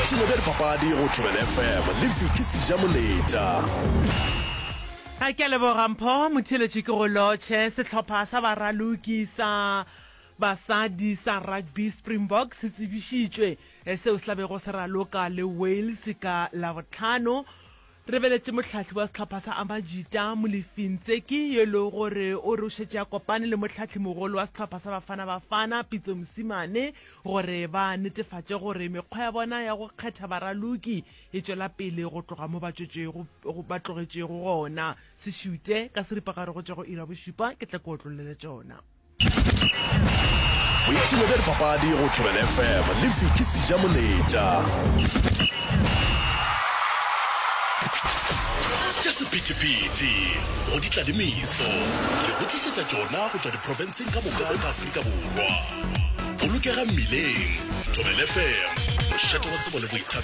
Boipshino bja dipapadi go Thobela FM le Vicky Sejamoletša. A ke a leboga Mpho Motheeletši ke go lotšhe. Sehlopha sa baraloki sa basadi sa rugby Springbok se tsebišitšwe seo se tla bego se raloka le Wales ka Labohlano. Re beletše mohlahli wa sehlopha sa Amajita, Molefi Ntseki, yo e lego gore o re o šetše a kopane le mohlahlimogolo wa sehlopha sa Bafana Bafana, Pitso Mosimane, gore ba netefatše gore mekgwa ya bona ya go kgetha baraloki e tšwela pele go tloga mo ba tšwetšego, ba tlogetšego gona. Se šute ka seripagare go tšwa go iri ya bošupa, ke tle ke otlollele tšona. Boipshino bja dipapadi go Thobela FM le Vicky Sejamoletša. Tša sephethephethe go di tla le meso, re go tlišetša tšona go tšwa diprofenseng ka moka ka Afrika Borwa. Bolokega mmileng, Thobela FM, mošate wa tsebo le boithabišo.